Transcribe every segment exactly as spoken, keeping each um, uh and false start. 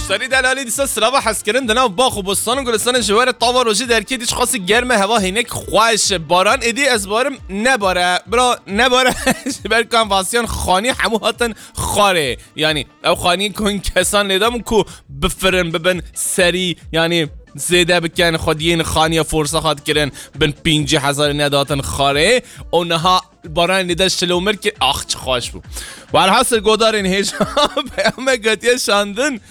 Serî delalî dîsa silava hezkirin di nav bax û bostan û gulistanê ji we re tava rojî derkê dî ji xwasî germe heva hênek xweş. Baran êdî ez barim nebare. Bira nebare. Ji ber ku em vasiyan xanî hemû hatin xarê. Yanî ew xanî ku hin kesan lê dabûn ku bifirin bibin serî, yanî zêde bikin, xwediyên xaniya forsa hat kirin bin pêncî hezarê nedatin xarê. Û niha baran lê de şilomir kir. Ax çi xweş bû. Welhasil godarên hêja peyamek hatiye şandin.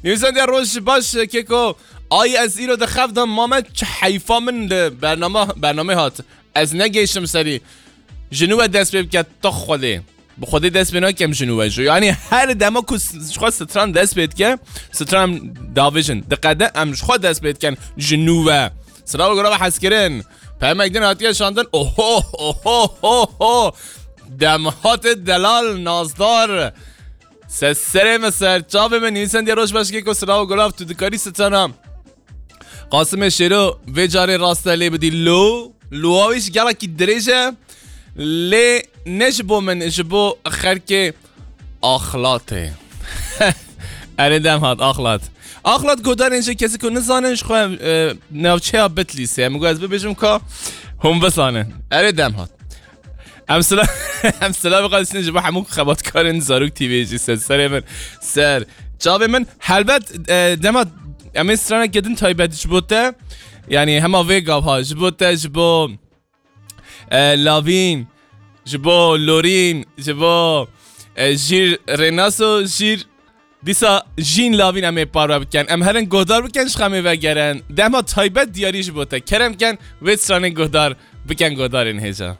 Nivîsandiye roj baş keko. Ay ez îro di xev de mame çi heyfa min li bername, bernamê hat. Ez negêşim serî. Ji nû ve dest pê bike tu Xwedê. Bi Xwedê dest pê nakem ji nû ve jî. Yanî her dema ku s-, ji xwe stran dest pê dike, stran davêjin. Diqede em ji xwe dest pê dikin ji nû ve. Silav û gulav hezkirin. Pemek din hatiye şandin. Oho, oho, ho, ho. Demhatê delal, nazdar. Se serê min ser, çavê min, nivîsandiye roj baş keko, silav û gulav, tu dikarî strana Qasimê Şêro vê carê raste lê bidî lo. Lowa wî ji gelekî dirêj e. Lê ne ji bo min, ji bo xelkê Axlatê. Erê dem hat, Axlat. Axlat godarên jê kesî ku nizanin ji xwe, e, navçeya Bitlîsê. Min got ez bibêjim ka hûn bizanin. Erê dem hat. Em sila-, em silavê xwe dişînin ji bo hemû xebatkarên Zarok T V jî ser serê min. Ser çavê min. Helbet, e, dema em ê straneke din taybet ji bo te, yanî hema vê gava, ji bo te, ji bo, e, Lavîn, ji bo Lorîn, ji bo, e, Jîr Rênaso, Jîr Dîsa jîn Lavîn em ê parve bikin. Em herin guhdar bikin, ji xemê vegerin. Dema taybet diyarî ji bo te. Kerem ken, vê stranê guhdar bikin, guhdarên hêja.